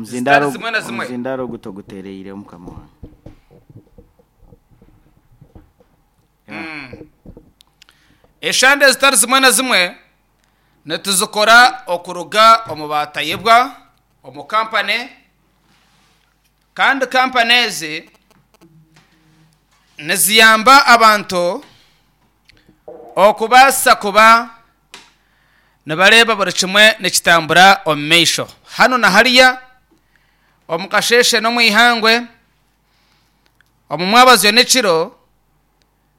Zitari zimwe na zimwe. Omuzindaaro ogu toguteereire mukama wange. Eshande ezitari zimwe na zimwe nituzikora okuruga omu baatayebwa omu kampani kandi kampani ezi niziyamba abantu okubaasa kuba nibareeba buri kimwe nikitambura omu maisho. Hanu na hariya, omu kasheeshe n'omu ihangwe, omu mwabazyo n'ekiro,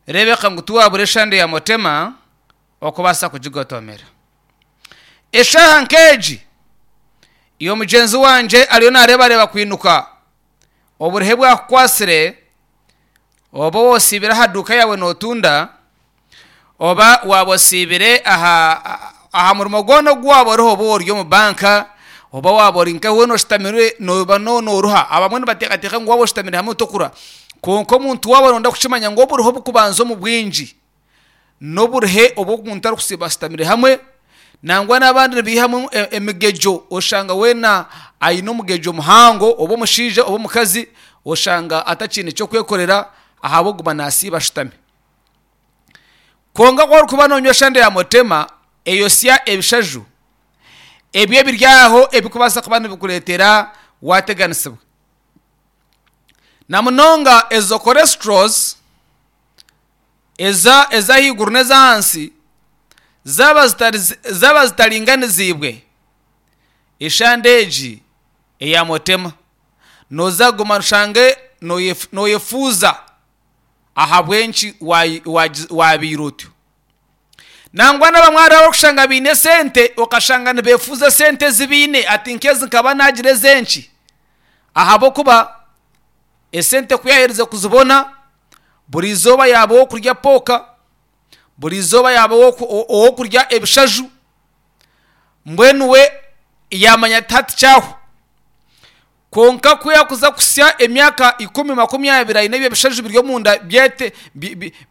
reebeka ngu tiwaabura eshande ya Mutema okubaasa kugigotomera. Eshaaha nk'egi, iwe mugyenzi wangye ariyo naareebareeba kwinuka oburuhe bwakukwatsire, oba osiibire aha duuka yaawe nootunda, oba waaba osiibire aha aha murimo gwona ogu waaba oriho oba ori omu banka, oba waaba ori nka weena oshutamire nooba nooruha. Abamwe nibateekateeka ngu waaba oshutamire hamwe tokuruha. Kwonka omuntu waaba nooyenda kukimanya ngu oburuhe oburikubanza omu bwingi n'oburuhe obu omuntu arikusiiba ashutamire hamwe, nangwa n'abandi nibaihamu emigegyo oshanga weena aine omugegyo muhango oba omushaija oba omukazi oshanga atakiine ky'okwekorera ahabw'okuguma naasiiba ashutami. Kwonka ku orikuba noonywa eshande ya Motema eyosya ebishaju ebyo ebiri aho ebirikubaasa kuba nibikureetera waateganisibwa. Na munonga ezo cholesterals eza ez'ahaiguru n'ez'ahansi zaaba zitari zaaba zitaringaniziibwe, eshande egi eya Motema nooza kuguma oshange nooyefuuza ahabw'enki waabaire otyo. Nangwa n'abamwe hariho abarikushanga baine esente okashanga nibeefuuza esente ezi baine ati nk'ezi nkaba naagira ez'enki ahabw'okuba esente ku yaaherize kuzibona buri izooba yaaba ow'okurya pooka, buri izooba yaaba ow'okurya ebishaju, mbwenu we yaamanya ati hati kyahwa. Kwonka ku yaakuza kuhitsya emyaka ikumi 20 aine ebyo bishaju biri omunda byete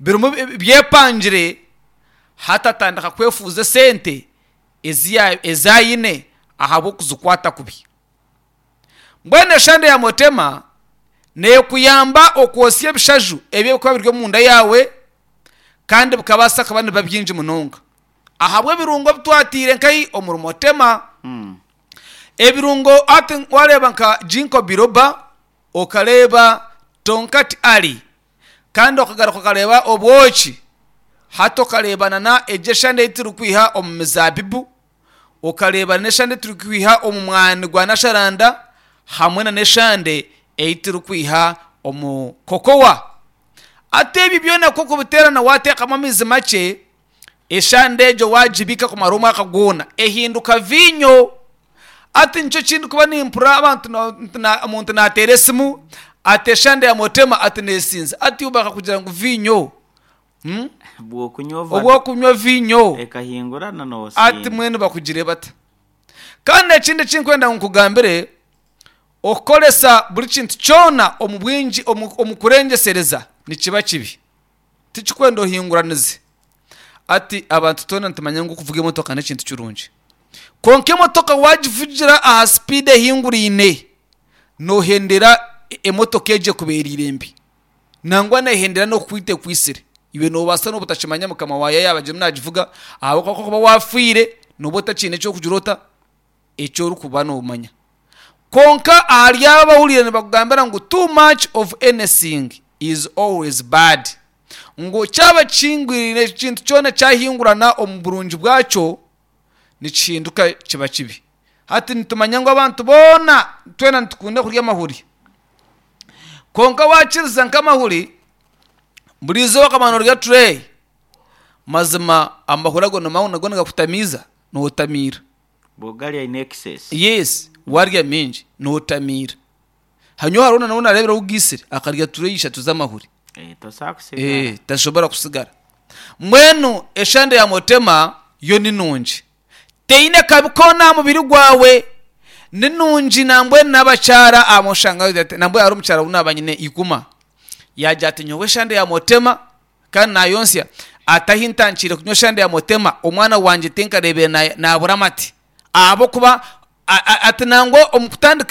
birimu byepangire, hati atandika kwefuuza esente ezi ezi aine ahabw'okuzikwata kubi. Mbwenu eshande ya Motema neekuyamba okwotsya ebishaju ebi ebirikuba biri omunda yaawe kandi bikabaasa kuba nibiba bingi munonga ahabw'ebirungo ebi twataire nkahi omuri Motema. Ebirungo hati wareeba nka Ginkgo biloba, okareeba Tongkat Ali, kandi okagaruka okareeba obwoki, hati okareeba nana egyo eshande ei turikwiha omu mizaabibu, okareeba n'eshande ei turikwiha omu mwani gwa nasharanda hamwe nana eshande ei turikwiha omu kokowa. Hati ebyo byona ku orikubiteerana waateekamu amaizi makye, Eshande egyo waagibiika kumara omwaka gwona, ehinduka viinyo. Hati nikyo eki ndikuba nimpurira abantu omuntu naateera esimu ati eshande ya Motema ati neesinza. Hati iwe bakakugira ngu viinyo, obw'okunywa viinyo hati mbwenu bakugire bata? Kandi ekindi eki ndikwenda ngu nkugambire, okukoresa buri kintu kyona omu bwingi omu kurengyesereza nikiba kibi. Tikikwenda ohinguranize. Hati abantu twena nitumanya ngu okuvuga emotoka n'ekintu kirungi. Kwonka emotoka waagivugira aha sipiidi ehinguraine, noohendera emotoka egyo ekubeereire mbi. Nangwa neehendera n'okukwita ekwitsire. Iwe noobaasa n'obutakimanya mukama waayo yaaba agirimu naagivuga ahabw'okuba ku orikuba waafiire nooba otakiine eky'okugira ota? Eki orikuba noomanya. Kwonka ahari abo abahuriire nibakugambira ngu too much of anything is always bad, ngu kyaba kihingwirire ekintu kyona kyahingurana omu burungi bwakyo nikihinduka kiba kibi. Hati nitumanya ngu abantu boona twena nitukunda kurya amahuri. Kwonka waakiriza nk'amahuri, buri izooba okamara noorya tureeyi, mazima amahuri ago nago nigakutamiiza, nootamiira. Bw'ogarya in excess. Yes, warya mingi notamiira. Hanyowe hariho na n'owu nareebire owu gaitsire akarya tureyi ishatu z'amahuri. Eh, tosobola kusigara. Eh, tasobora kusigara. Mbwenu eshande ya Motema yo ni nungi. Teine kabi koona aha mubiri gwawe. Ni nungi nambwenu n'abakyara abamwe oshanga bagira ati nambwenu hariho omukyara owu naaba nyine iguma yaagira ati nyowe eshande ya Motema Kandi naayontsya ati, Ahi ntankiire kunywa eshande ya Mutema, omwana wangye tinkareebire naabura amate. Ahabw'okuba ati nangwa omu kutandika.